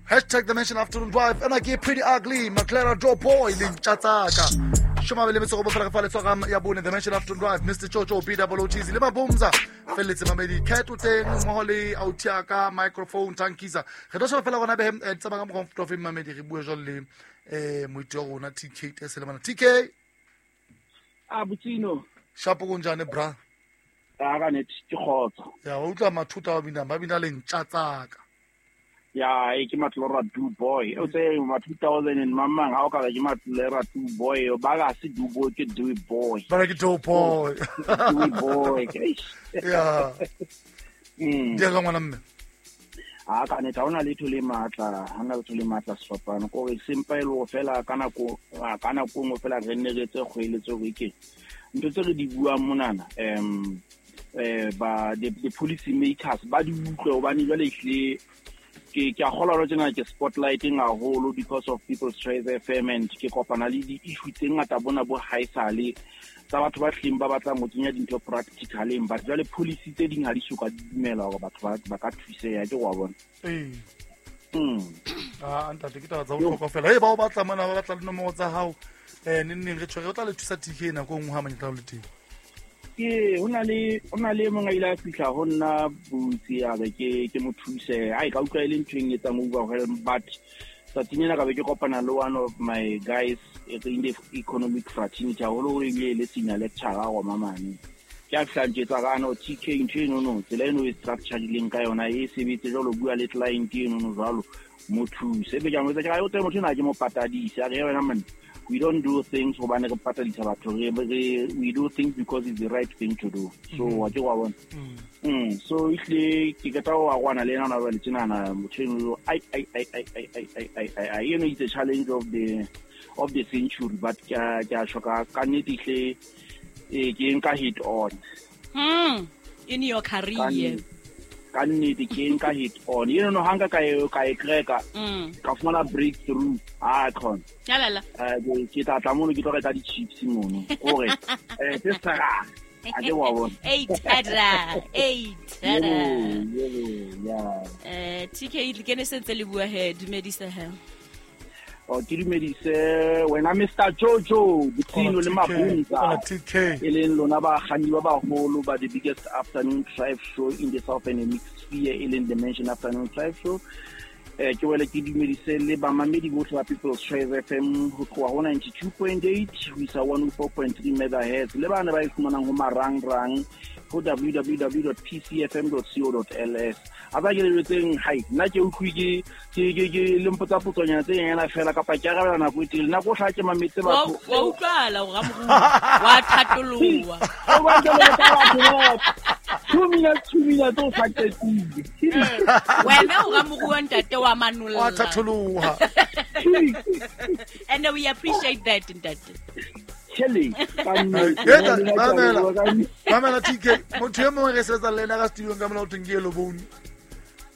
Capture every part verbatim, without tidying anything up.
Hashtag Dimension Afternoon Drive. Ena ke Pretty Ugly, Maclara Joe Boy, le ntja tsaka. Shoma le metso go bofela fa le tshwara ya bone Dimension Afternoon Drive, Mister Chocho, B O O T Z le Mabumza. Felletse mamedi Cat o teng mmoho le Autiaka microphone tankisa. Re tlo sheba fela gona be tsamaya ka mokgwa o mamedi re bue jwalo le eh moiti wa rona T K Teselemana. T K a Botsino. Shapo kunjani bra? A ka net ke khotso. Ya o utlwa mathuta wa bina ba bina le ntja tsaka. Ya e ke matlora do boy. O tse ma two thousand and mamang ha o ka ke matlora do boy ba ga se do boy ke do boy. Ba ke do boy. Do boy. Ya. Mm. Dia ngwana mme. A ka net ha ona letho le matla, ha na letho le matla sefapano. Ko re sempa e lo fela ka nako ka nako nngwe fela re nne re tse kgwele tse re ke. Ntho tse re di buang monana um eh ba the, the policy makers ba di utlwe hobane jwale ehlile ke ke a kgolwa hore tjena ke spotlighting haholo because of People's Choice F M and ke kopana le di-issue tse ngata bona bo haesale tsa batho ba hleng ba batlang ho kenya dintho practicaleng, but jwale policy tse ding ha di soka di dumela hore batho ba ba ka thuseha ke wa bona. Ee. Mm. Ah ntate ke taba tsa bohlokwa fela. Hey ba o batla mona ba batla le nomoro tsa hao. Eh neng neng re tshwere o tla le thusa T K nako nngwe ha manyetla o le teng. Ke hona le hona le mong a ile a fihla ho nna butsi a be ke ke mo thuse. Ai ka utlwa ile ntho e etsang overwhelm, but tsatsing ena ka be ke kopana le one of my guys in the economic fraternity haholo o ile le senior lecturer wa mamane. Ke a fihla ntjetsa ka no T K ntho eno no tsela eno e structure dileng ka yona e sebetse jwalo bua le client eno no jwalo mo thuse. Ebe ke a mo etsa ke re o teng motho ena ke mo patadise a re wena man, we don't do things hobane re patadisa batho, re we do things because it's the right thing to do. So wa ke wa bona. Mm so ihle ke qeta ho arwana le ena na jwale tjenana motho eno ai ai ai ai ai ai ai ai ai you know it's a challenge of the of the century, but ke ke a shoka ka nnete ihle eh ke nka hit on. Mm in your career. Ka nnete ke nka hit on. You know hanga ka e ka e kreka ka fumana breakthrough ah con. Yalala. Eh ke tla tla mono ke tlo reka di-chips mono. Hore eh se sara. A ke wa bona. Ei tada, ei tada. Yeah. Eh T K le kene sentse le bua he dumedisa he. O ke dumedise wena Mister Jojo Botsino le Mabunza. T K. E leng lona ba kganni ba baholo ba the biggest afternoon drive show in the Southern Hemisphere e leng Dimension Afternoon Drive Show. Eh ke wele ke dumedise le bamamedi bohle ba People's Choice F M ho tloha ho ninety-two point eight ho isa one oh four point three megahertz le bana ba e fumanang ho marangrang ho w w w dot p c f m dot co dot l s. A ba ke le jwetseng hai nna ke utlwe ke ke ke ke le mpotsa potsonyana tse nyana fela kapa ke arabela nako e telele nako o hla ke mametse batho wa utlwala o ramoruo wa thatoloha o ba ke le batho two minutes two minutes o sa qetile wena o ramoruo ntate wa manolla wa thatoloha and we appreciate that ntate. Kelly mamela mamela T K motho e mongwe re sebetsa le ena ka studio ka mona o thweng ke Yellow Bone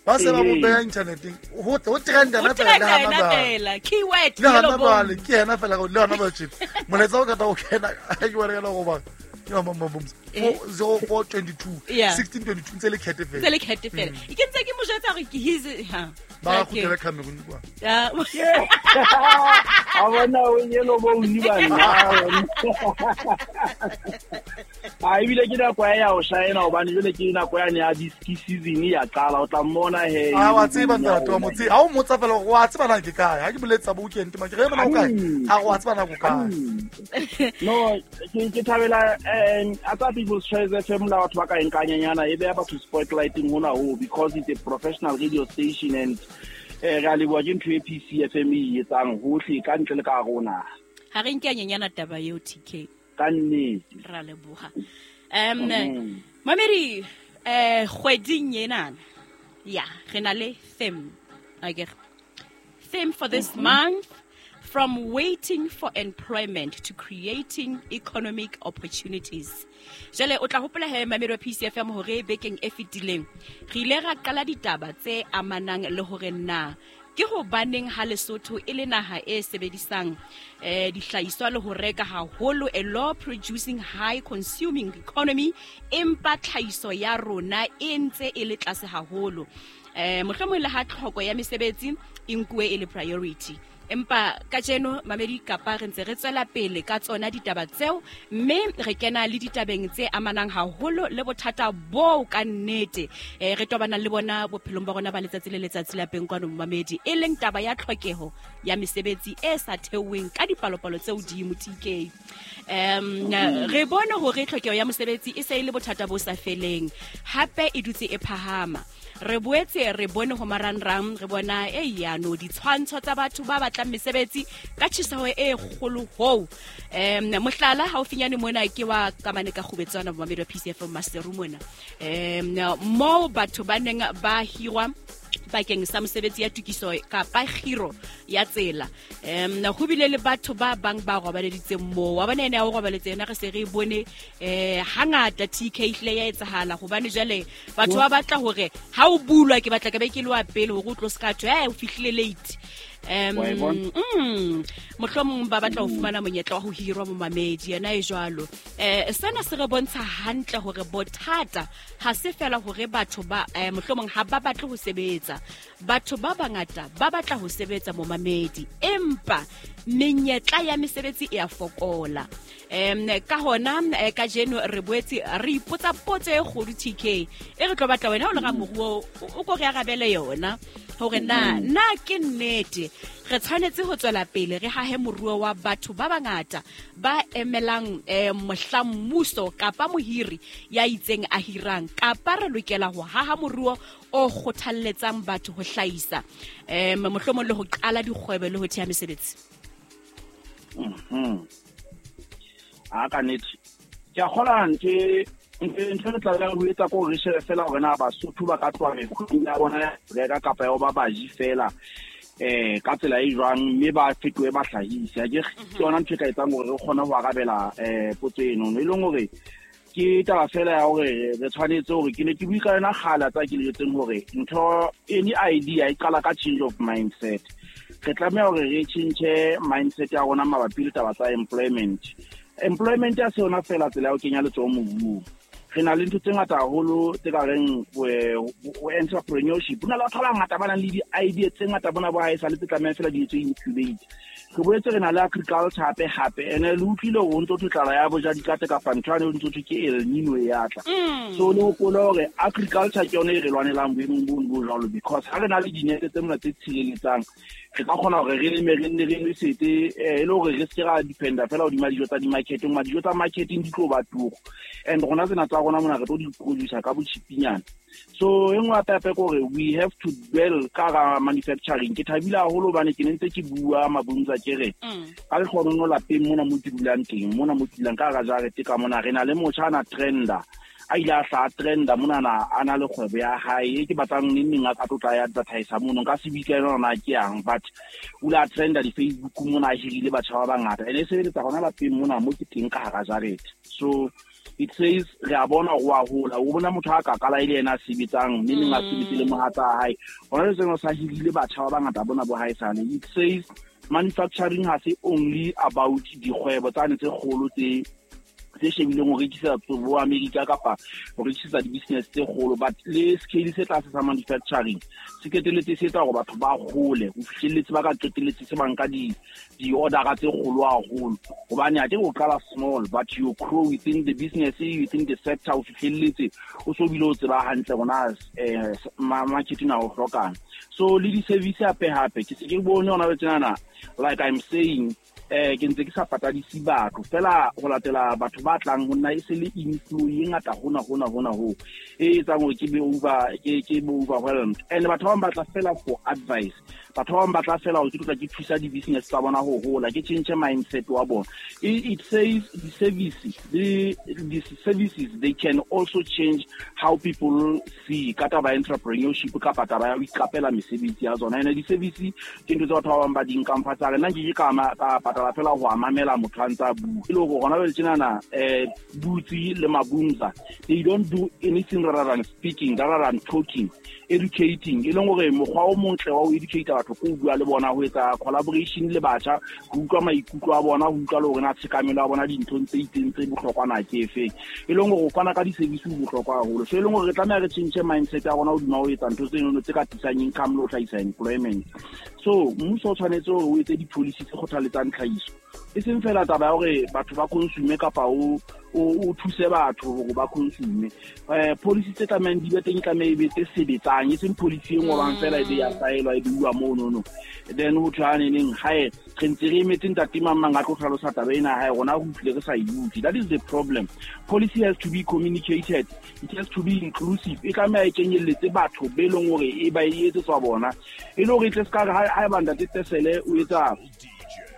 ba se ba mo beha inthaneteng ho ho trenda na fela le hana fela keyword le hana bale ke yena fela le hana ba tjena molaetsa o kata o kena ke wa re go ba ke wa mama boms four oh four twenty-two sixteen twenty-two ntse le khete fela ntse le khete fela ke ntse ke mo jwetsa hore ke his ha ba kgutlela Cameroon kwa ya a bona o Yellow Bone ba nna a ebile ke nako ya ho shaena hobane jwale ke nako ya ne ya di-ski season ya qala o tla mmona he a wa tseba ntate wa motse ha o motsa fela wa tseba na ke kae ha ke boletsa bo weekend ma ke re bona o kae a wa tseba na go kae no ke ke thabela eh a tsa People's Choice F M la batho ba ka enkanyanyana e beha batho spotlighting hona ho because it's a professional radio station and eh re a leboha ke ntho e P C F M e etsang hohle ka ntle le ka rona ha re nkanyanyana taba eo T K ka nnete ra leboha um mamedi eh kgweding ena ya re na le theme akere theme for this month from waiting for employment to creating economic opportunities. Jale o tla hopola he mamedi wa P C F M hore bekeng e fetileng re ile ra qala ditaba tse amanang le hore na ke hobaneng ha Lesotho e le naha e sebedisang eh dihlahiswa le ho reka haholo, a low producing high consuming economy, empa tlhahiso ya rona e ntse e le tlase haholo. Eh mohlomong le ha tlhoko ya mesebetsi e nkuwe e le priority. Empa kajeno mamedi kapa re ntse re tswela pele ka tsona ditaba tseo, mme re kena le ditabeng tse amanang haholo le bothata boo ka nnete eh re tobanang le bona bophelong ba rona ba letsatsi le letsatsi lapeng kwano mamedi, e leng taba ya tlhokeho ya mesebetsi e sa theoweng ka dipalopalo tse hodimo T K. Um re bone hore tlhokeho ya mosebetsi e se e le bothata bo sa feleng, hape e dutse e phahama. Re boetse re bone ho marangrang, re bona e yano ditshwantsho tsa batho ba batlang mesebetsi ka tjheseho e kgolo hoo. Em mohlala haufinyane mona ke wa kamane ka kgubetswana bomamedi wa P C F M Maseru mona. Em moo batho ba neng ba hirwa bakeng sa mosebetsi ya tokiso kapa kgiro ya tsela. Em ho bile le batho ba bang ba robaleditseng moo. Wa bona ene ya ho robaletse yena re se re bone eh hangata T K hle ya etsahala, hobane jwale batho ba batla hore ha o bulwa ke batla ke be ke le wa pele hore o tlo ska thwe eh o fihlile late. Um mm mohlomong ba batla ho fumana monyetla wa ho hirwa momamedi yena e jwalo. Eh sena se re bontsha hantle hore bothata ha se fela hore batho ba eh, mohlomong ha ba batle ho sebetsa. Batho ba bangata ba batla ho sebetsa momamedi, empa menyetla ya mesebetsi e a fokola. Em ka hona kajeno re boetse re ipotsa potso e kgolo T K e re tlo batla wena o le ga moruo o ko re arabele yona hore na na ke nnete re tshwanetse ho tswela pele re hahe moruo wa batho ba bangata ba emelang eh, mohla mmuso kapa mohiri ya itseng a hirang, kapa re lokela ho haha moruo o kgothalletsang batho ho hlahisa eh mohlomong le ho qala dikgwebo le ho theha mesebetsi. Mhm. A ka nnete ke a kgola ntse ntho re tla ho etsa ko re shebe fela hore na Basotho ba ka tloha mekgweng ya bona ya reka kapa ya ho ba baji fela eh ka tsela e jwang, mme ba fetohe bahlahisi. Ke ke yona ntho e ka etsang hore re kgone ho arabela eh potso eno, e leng hore ke taba fela ya hore re tshwanetse hore ke ne ke bue ka yona kgale tsa ke le jwetseng hore ntho any idea e qala ka change of mindset. Re tlameha hore re change mindset ya rona mabapi le taba tsa employment. Employment ya se yona fela tsela ya ho kenya letsoho mobung. Re na le ntho tse ngata haholo tse ka reng entrepreneurship. Ho na le batho ba bangata ba nang le di-idea tse ngata bona bo haesale tse tlamehang fela di etswe incubate. Re boetse re na le agriculture hape hape, ene le utlwile hore ho ntso thwe tlala ya boja dikate kapa ntho yane ho ntso thwe ke El Nino e ya tla. So le hopole hore agriculture ke yona e re lwanelang boemong bono bo jwalo, because ha re na le dinete tse mona tse tshireletsang re ka kgona hore re leme re nne re nwesetse, e le hore re se ke ra dependa fela hodima dijo tsa di-marketeng. Ma dijo tsa marketing di tlo ba turu, and rona tsena tsa rona mona re tlo di producer ka botjhipinyana. So e nngwe hape hape ke hore we have to dwell ka hara manufacturing. Ke thabile haholo hobane ke ne ntse ke bua Mabunza ke re ka lekgono lapeng mona mo ke dulang teng, mona mo ke dulang ka hara jarete ka mona, re na le motjha ana trenda a ile a hla trenda monana a na le kgwebo ya hae e ke batlang neng neng a ka tlotla ya advertise mono, nka se bitsa yona na ke yang, but o ile a trenda di-Facebook mona a hirile batjha ba bangata, ene e sebeletsa hona lapeng mona mo ke teng ka hara jarete. So it says re a bona ho a hola, o bona motho a ka qala e le yena a sebetsang mme neng a sebetse le mohatsa hae, hona le seno sa hirile batjha ba bangata bona bo haesale. It says manufacturing ha se only about dikgwebo tsane tse kgolo tse tse shebileng ho rekisa bo America kapa ho rekisetsa di-business tse kgolo, but le scale se tlase sa manufacturing se qetelletse se etsa hore batho ba hole ho fihlelletse ba ka qetelletse se banka di di-ordera tse kgolo haholo, hobane ha ke o qala small but you grow within the business, within the sector, o fihlelletse o so bile o tseba hantle hore eh marketing a o hlokang. So le di-service hape hape ke se ke bone hona tjenana, like I'm saying eh ke ntse ke sa patadise batho fela ho latela batho ba tlang ho nna e se le inflow e ngata hona hona hona ho e etsang hore ke be over ke ke be overwhelmed. And batho ba bang ba tla fela for advice, batho ba bang ba tla fela hore ke tla ke thusa di-business tsa bona ho hola, ke change mindset wa bona. It says the services, the, the services they can also change how people see ka taba ya entrepreneurship kapa taba ya ho iqapela mesebetsi ya tsona. Ene di-service ke ntho tse batho ba bang ba di nkang fatshe, a re nna nke ke ka ka patala fela ho mamela motho a ntsa bua. E le hore hona jwale tjenana eh Butsi le Mabunza, they don't do anything rather than speaking, rather than talking, educating. E leng hore mokgwa o montle wa ho educate batho ko bua le bona, ho etsa collaboration le batjha, ho utlwa maikutlo a bona, ho utlwa le hore na tshekamelo ya bona dinthong tse itseng tse bohlokwa na ke efeng. E leng hore ho fana ka di-service ho bohlokwa haholo. So e leng hore re tlameha re tjhentjhe mindset ya rona hodima ho etsa ntho tseno tse ka tlisang income le ho hlahisa employment. So mmuso o tshwanetse hore o etse di-policy tse kgothaletsang tlhahiso, e seng fela taba ya hore batho ba consume kapa o o thuse batho hore ba consume. Eh policy tse tlamehang di be teng, tlameha e be tse sebetsang, e seng policy e ngolwang fela e be ya saelwa e bua mono no. Then ho thwe haneneng hae re ntse re emetse ntate mang mang a tlo hlalosa taba ena hae, rona re utlwile re sa e utlwe. That is the problem. Policy has to be communicated, it has to be inclusive. E tlameha e kenyelletse batho be leng hore e ba e etsetswa bona, e le hore e tle se ka re haeba ntate Tesele o etsa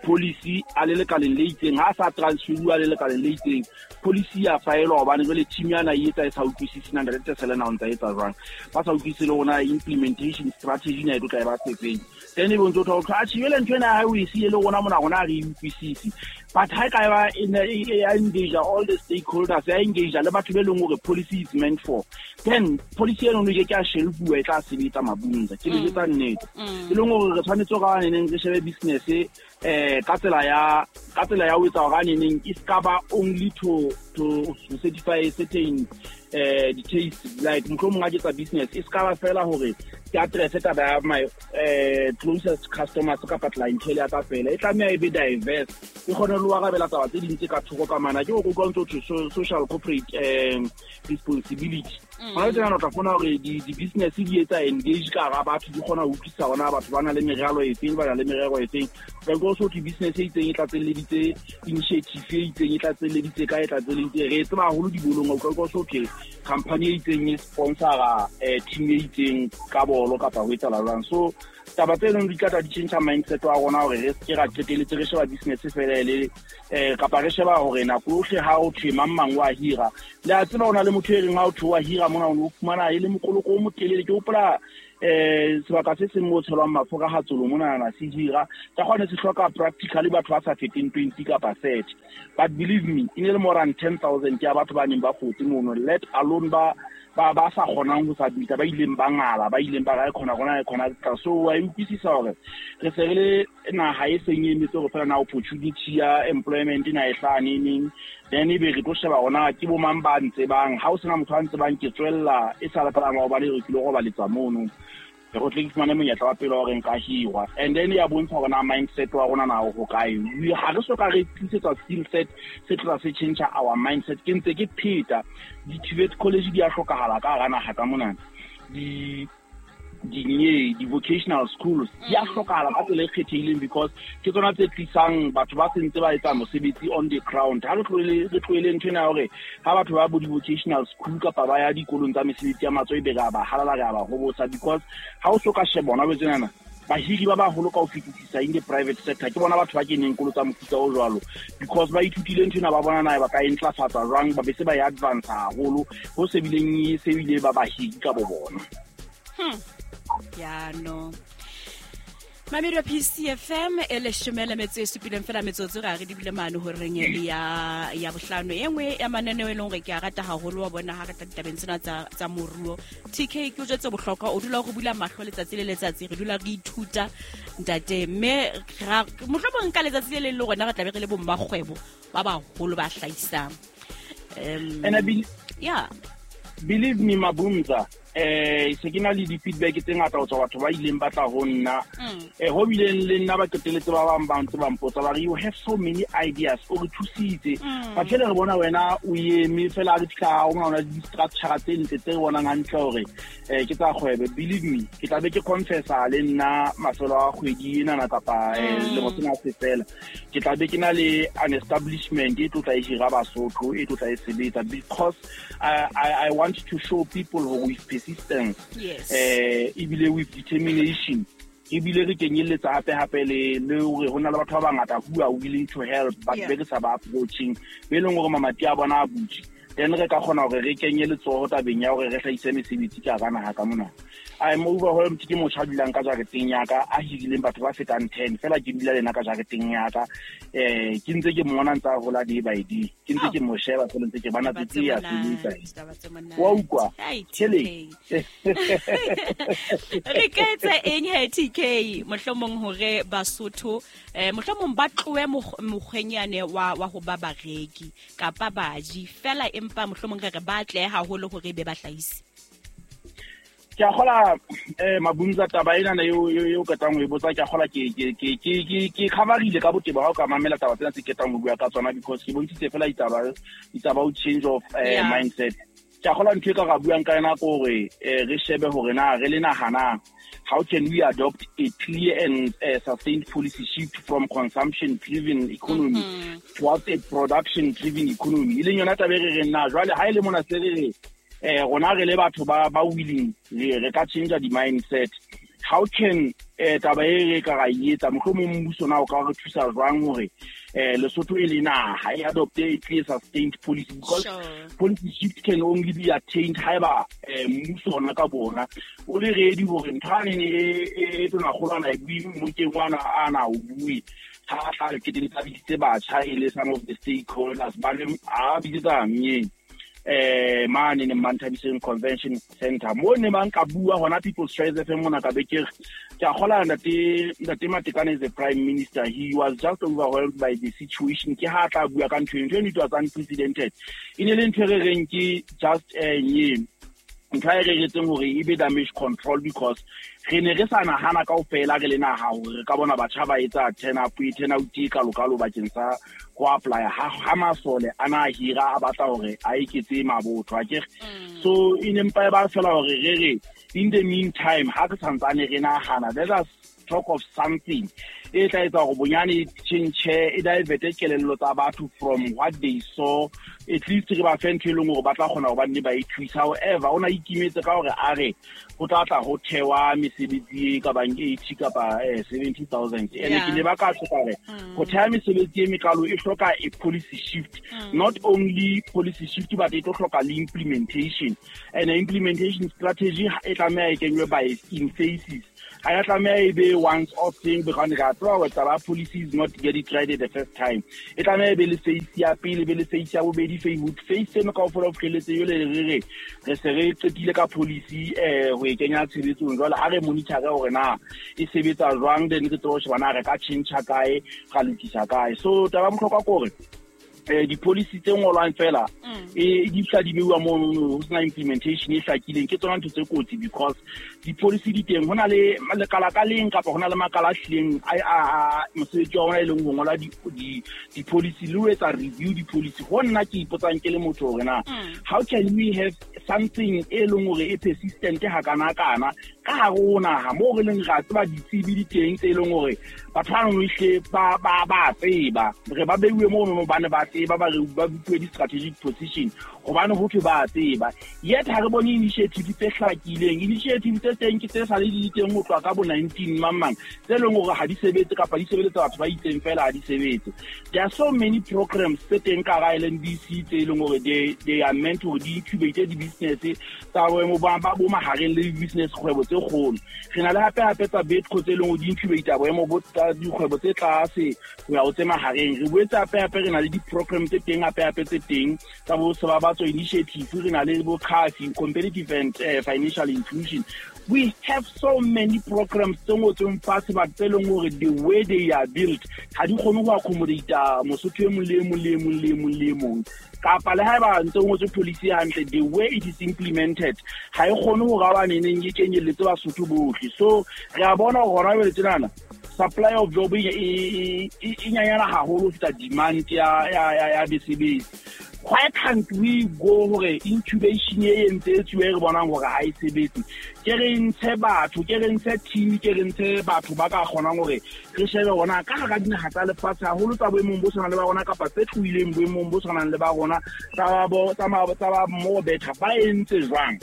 policy a le lekaleng le itseng, ha sa transferuwa le lekaleng le itseng, policy ya faelwa hobane jwale team yana e etsa e sa utlwisise na ntate Tesele na o ntsa etsa jwang, ba sa utlwisise le rona implementation strategy na e tlo tla e ba sefeng. Then e bontse o thola atjhe jwale ntho ena ha o e siye le rona mona rona ha re e utlwisise. But ha e ka ba e engage all the stakeholders, ya engage le batho be leng hore policy is meant for, then policy eno e ke ke a shelfuwa e tla sebetsa Mabunza. Ke le jwetsa nnete. E leng hore re tshwanetse hore neneng re shebe business eh ka tsela ya ka tsela ya ho etsa hore neneng e ska ba only to to certify certain eh details, like mohlomong ha ke etsa business e ska ba fela hore ke address taba ya my eh closest customers kapa clientele ya ka fela, e tlameha e be diverse, e kgone le ho arabela taba tse ding tse ka thoko ka mana. Ke hore o utlwa ntse ho social corporate um responsibility. Hona tjena o tla fumana hore di-business di etsa engage ka hara batho, di kgona ho utlwisisa hore na batho ba na le meralo e feng, ba na le merero e feng. Ka so thwe business e itseng e tlatselleditse initiative e itseng, e tlatselleditse ka e tlatselleditse. Re tseba haholo dibolong, o utlwa so thwe company e itseng e sponsora team e itseng ka bolo kapa ho etsahala jwang. So taba tse leng di tla tla di tjhentjha mindset wa rona hore re se ke ra qetelletse re sheba business fela e le eh kapa re sheba hore nako yohle ha o thwe mang mang wa hira. Le a tseba hona le motho e reng ha o thwe wa hira mona o fumana e le mokoloko o motelele. Ke hopola eh sebaka se seng mo tshelwang mafura ha tsolo mona na se hira ka kgone se hloka practically batho ba sa feteng twenty kapa thirty, but believe me e ne le more than ten thousand ya batho ba neng ba fotse mono, let alone ba ba ba sa kgonang ho submit, ba ileng ba ngala, ba ileng ba ra khona rona e khona tla. So wa utlwisisa hore re se re le naha e seng e emetse hore fela na opportunity ya employment na e hlane neng, then ebe re tlo sheba hona ke bo mang ba ntse bang. Ha o sena motho a ntse bang ke tswella e sa le ka maobane re kile go baletsa mono, re tle ke fumane monyetla wa pele hore nka hirwa. And then ya bontsha hore na mindset wa rona na ho kae. Ha re soka re tlisetsa skill set se tla se change our mindset. Ke ntse ke pheta di-T V E T college di a hlokahala ka hara naha ka mona, di di di-vocational schools di a hlokahala ka tsela e kgethehileng, because ke tsona tse tlisang batho ba sentse ba etsa mosebetsi on the ground. Ha re tlohele re tlohele ntho ena ya hore ha batho ba bo di-vocational school kapa ba ya dikolong tsa mesebetsi ya matsoho ebe re a ba halala, re a ba hobosa, because ha o so ka sheba bona tsenana bahiri ba baholo ka ho fetisisa in the private sector ke bona batho ba keneng kolo tsa mofuta o jwalo, because ba ithutile ntho ena, ba bona na ba ka e ntlafatsa jwang, ba be se ba e advance haholo ho se bileng e se bile ba bahiri ka bo bona. Hmm. Ya no. Mamedi wa P C F M e leshome le metso e supileng fela metsotso ra re dibile mane horeng ya ya bohlano. E nngwe ya mananeo e leng hore ke a rata haholo wa bona ha re tla ditabeng tsena tsa tsa moruo. T K ke o jwetse bohlokwa, o dula o re bula mahlo letsatsi le letsatsi, re dula re ithuta ntate, mme mohlomong ka letsatsi le leng le rona re tla be re le bo mmakgwebo ba baholo ba hlahisang. Um And I be, yeah. Believe me Mabunza, eh se ke na le di-feedback tse ngata ho tswa batho ba ileng ba tla ho nna, eh ho bileng le nna ba qeteletse ba bang ba ntse ba mpotsa ba re you have so many ideas, o re thusitse, but fela re bona wena o eme fela re fihla o ngwana di-structure tse ntle tse re bonang hantle hore eh ke tsa kgwebo. Believe me, ke tla be ke confessa le nna mafelo a kgwedi ena kapa lemo sena se fela, ke tla be ke na le an establishment e tlo tla e hira Basotho, e tlo tla e sebetsa, because I, I, I want to show people who with persistence, yes, eh ebile with determination, ebile re kenyelletsa hape hape le le hore ho na le batho ba bangata who are willing to help, but yeah, be re sa ba approaching, be leng hore mamati a bona a butse, then re ka kgona hore re kenye letsoho tabeng ya hore re hlahise mesebetsi ka hara naha ka mona. I'm overwhelmed ke motho a dulang ka jareteng ya ka a hirileng batho ba fetang ten fela ke dula le nna ka jareteng ya ka eh ke ntse ke mmona ntse a hola day by day ke ntse ke mo sheba fela ntse ke bana tse ya sebetsa wa utlwa tshele re ka etsa eng he T K mohlomong hore Basotho eh mohlomong ba tlohe mokgwenyane wa wa ho ba bareki kapa baji fela empa mohlomong re re ba tle haholo hore be ba hlahise. Ke a kgola eh Mabunza taba ena na eo eo ketang ho e botsa ke a kgola ke ke ke ke ke coverile ka botebo ha o ka mamela taba tsena tse ketang ho bua ka tsona because ke bontshitse fela ditaba it's about change of uh, mindset. Ke a kgola ntho e ka ra buang ka yona ko hore re shebe hore na re le nahana how can we adopt a clear and uh, sustained policy shift from consumption driven economy mm-hmm. towards a production driven economy. E leng yona taba e re reng na jwale ha e le mona se re re eh rona re le batho ba ba willing re re ka change the mindset. How can eh taba e re ka ra etsa mohlomong mmuso na o ka re thusa jwang hore eh Lesotho e le naha e adopt a clear sustained policy because sure. policy shift can only be attained haeba mmuso ona ka bona o le ready hore ntho ane e e tona kgolwana e bue mokeng wana ana o bue ha tla re keteletsa bitse batjha e le some of the stakeholders ba le a bitsa mnyeng eh mane ne Manthabiseng Convention Center mo ne bang ka bua hona People's Choice F M mona ka be ke ke a kgola ntate ntate Matekane is the prime minister. He was just overwhelmed by the situation. Ke ha tla bua ka ntho eno it was unprecedented. E ne le ntho e re reng ke just eh nye ntho e re retseng hore e be damage control because re ne re sa nahana kaofela re le naha hore re ka bona batjha ba etsa turn up e turn out e kalokalo bakeng sa ho apply ha ha masole ana hira a batla hore a eketse mabotho a ke so e ne mpa e ba fela hore re re in the meantime ha re santsane re nahana let us talk of something e tla etsa hore bonyane change e divert kelello tsa batho from what they saw at least re ba fe ntho e leng hore ba tla kgona ho ba nne ba e thusa. However o na ikimetse ka hore a re ho tla tla ho thewa mesebetsi e ka bang eighty kapa seventy thousand ene ke ne ba ka tlo ka re ho theha mesebetsi e mekalo e hloka a policy shift mm. not only policy shift but e tlo hloka le implementation and implementation strategy e tlameha e kenywe by in phases. Ha ya tlameha e be once off thing because re a tseba hore taba policy is not get it right the first time. E tlameha e be le phase ya pele be le phase ya bobedi phase phase seno kaofela ho fihlelletse jwale re re re se re qetile ka policy eh ho e kenya tshebetsong jwale ha re monitor hore na e sebetsa jwang then re tsebe ho sheba na re ka change kae ra lokisa kae. So taba bohlokwa ke hore eh di-policy tse ngolwang fela e di tla di beuwa mo ho sena implementation e hlakileng ke tsona ntho tse kotsi because di-policy di teng ho na le lekala ka leng kapa ho na le makala a hlileng a mosebetsi wa ona e leng ho ngola di-policy le ho etsa review di-policy. Ho nna ke ipotsang ke le motho hore na how can we have something e leng hore e persistent hakana-kana ka hare ho naha moo re leng ra tseba ditsebi di teng tse leng hore batho ba nngwe hle ba ba ba tseba re ba beuwe mono ba ne ba tseba ba re ba bue di-strategic position hobane ho thwe ba tseba yet ha re bone initiative tse hlakileng. Initiative tse teng ke tse sa le di teng ho tloha ka bo nineteen mang mang tse leng hore ha di sebetse kapa di sebeletsa batho ba itseng fela ha di sebetse. There are so many programs tse teng ka hara L N D C tse leng hore they they are meant to di incubate di-business tsa boemo ba bo mahareng le di-business kgwebo tse kgolo. Re na le hape hape tsa Betco tse leng hore di incubate boemo bo tsa dikgwebo tse tlase ho ya ho tse mahareng. Re boetse hape hape re na le di-program tse teng hape hape tse teng tsa bo Sebabatso initiative, re na le bo C A F I, competitive and uh, financial inclusion. We have so many programs tse ngotsweng fatshe but tse leng hore the way they are built ha di kgone ho accommodate Mosotho e mong le e mong le e mong le e mong le e mong kapa le haeba ntse ngotswe policy hantle the way it is implemented ha e kgone hore ba neneng e kenyelletse Basotho bohle. So re a bona hore hona jwale tjenana supply of job e e nyanyana haholo ho feta demand ya ya ya mesebetsi. Why can't we go hore incubation e entse e tsuwe re bonang hore ha e sebetse ke re ntshe batho ke re ntshe team ke re ntshe batho ba ka kgonang hore re shebe hona ka hara dinaha tsa lefatshe haholo tsa boemong bo tshwanang le ba rona kapa tse tlohileng boemong bo tshwanang le ba rona tsa bo tsa tsa ba more better ba entse jwang.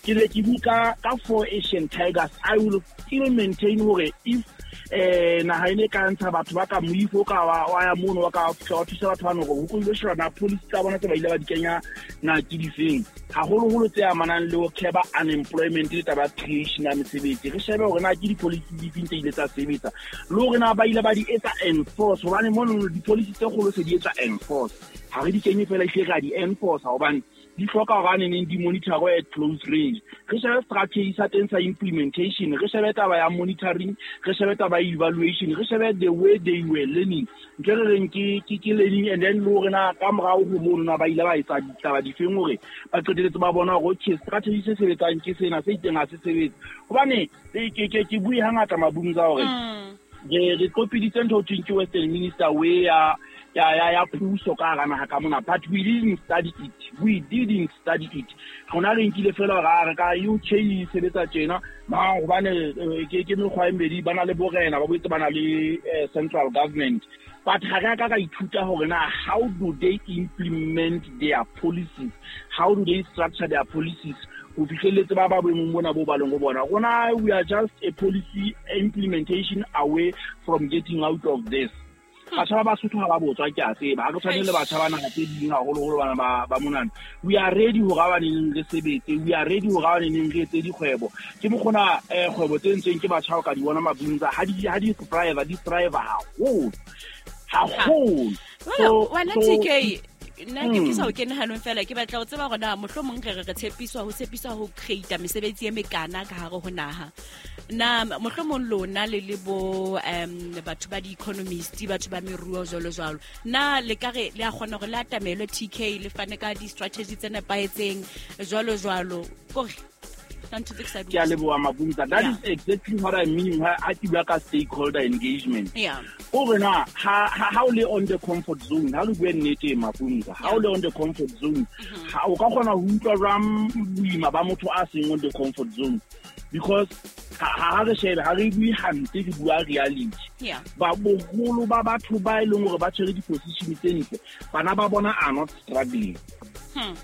Ke le ke buka ka four Asian Tigers. I will still maintain hore if Eh naha ene ka ntsha batho ba ka moifo ka wa ya mono wa ka wa thusa batho bano hore ho ile sheba na policy tsa bona tse ba ile ba di kenya na ke difeng. Haholoholo tse amanang le ho curb unemployment le taba creation ya mesebetsi. Re shebe hore na ke di-policy difeng tse ile tsa sebetsa. Le hore na ba ile ba di etsa enforce hobane mono di-policy tse kgolo se di etsa enforce. Ha re di kenye fela ehlile re a di enforce hobane di hloka hore a neneng di monitor at close range. Re shebe strategy sa teng sa implementation, re shebe taba ya monitoring, re shebe taba ya evaluation, re shebe the way they were learning. Ntho e re reng ke ke ke learning and then le hore na ka morao ho mono na ba ile ba etsa ditaba difeng hore ba qetelletse ba bona hore okay strategy se sebetsang ke sena se itseng ha se sebetse. Hobane ke ke ke bue hangata mabung tsa hore re re kopiditse ntho ho thweng ke Western Minister way ya ya ya ya puso ka hara naha ka mona, but we didn't study it. We didn't study it. Rona re nkile fela hore re ka U K e sebetsa tjena ma hobane ke ke mekgwa e mmedi ba na le borena ba boetse ba na le central government, but ha re ka ka ithuta hore na how do they implement their policies, how do they structure their policies ho fihlelletse ba ba boemong bona bo ba leng ho bona. Rona we are just a policy implementation away from getting out of this. Batjha ba Basotho ha ba botswa ke a tseba ha re tshwane le batjha ba naha tse ding haholoholo bana ba ba monana. We are ready hore ba neng re sebetse, we are ready hore ba neng re etse dikgwebo. Ke mokgona eh kgwebo tse ntseng ke batjha o ka di bona mabunza ha di ha di thrive di thrive haholo haholo. So wena T K nna ke ke sa o kene hanong fela ke batla ho tseba hore na mohlomong re re re tshepiswa ho tshepiswa ho create mesebetsi e mekana ka hare ho naha. Na mohlomong lona le le bo um batho ba di-economist, batho ba meruo jwalo jwalo, na le ka re le a kgona hore le atamelwe T K le fane ka di-strategy tse nepahetseng jwalo jwalo kore Ke a leboha Mabunza. That is exactly what I mean ha ke bua ka stakeholder engagement. Yeah. O re na ha ha o le on the comfort zone, ha le bue nnete Mabunza, ha o le on the comfort zone, ha o ka kgona ho utlwa jwang boima ba motho a seng on the comfort zone. Because ha re shebe ha re bue hampe re bua reality. Yeah. Ba boholo ba batho ba e leng hore ba tshwere di-position tse ntle, bana ba bona are not struggling. Hmm.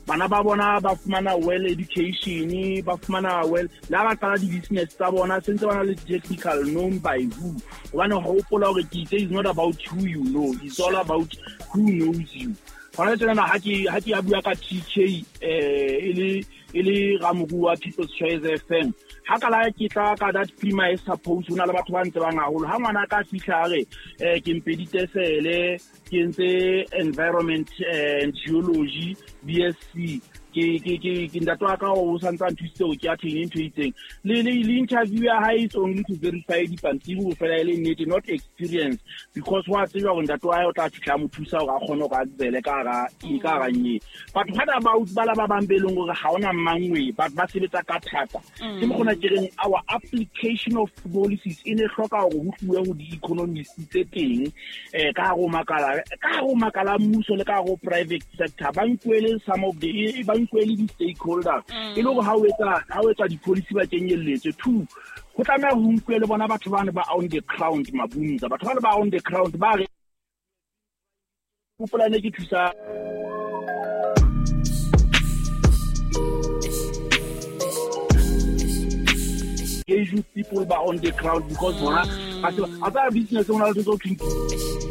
Bana ba bona ba fumana well education, ba fumana well la ba qala di-business tsa bona sentse ba na le technical known by who. Hobane hopola hore ke itse is not about who you know, it's all about who knows you. Hona tjena ha ke ha ke a bua ka T K eh e le e le ramoruo wa People's Choice F M. Ha ka la ke tla ka that premise suppose hona le batho ba ntse bang haholo. Ha ngwana ka fihla re eh ke mpeditesele ke ntse environment and geology B S C ke ke ke ke ntate wa ka o santse a nthusitse hore ke attain ntho e itseng. Le le le interview ya hae is only to verify dipampiri ho fela e le nnete, not experience, because wa tseba hore ntate wa hae o tla fihla a mo thusa hore a kgone hore a tswele ka hara ka hara nye. But what about bala ba bang be leng hore ha ona mangwe but ba sebetsa ka thata. Ke mokgona ke reng our application of policies e ne hloka hore ho tluwe ho di-economists tse teng eh ka hare ho makala ka hare ho makala mmuso le ka hare ho private sector ba nkuele some of the ba nkuele di-stakeholders e le hore ha o etsa ha o etsa di-policy ba kenyelletse. Two, ho tlameha ho nkuwe le bona batho bane ba on the ground Mabunza, batho bane ba on the ground ba re hopola ne ke thusa engage with people ba on the ground because bona ba tseba business o na le tso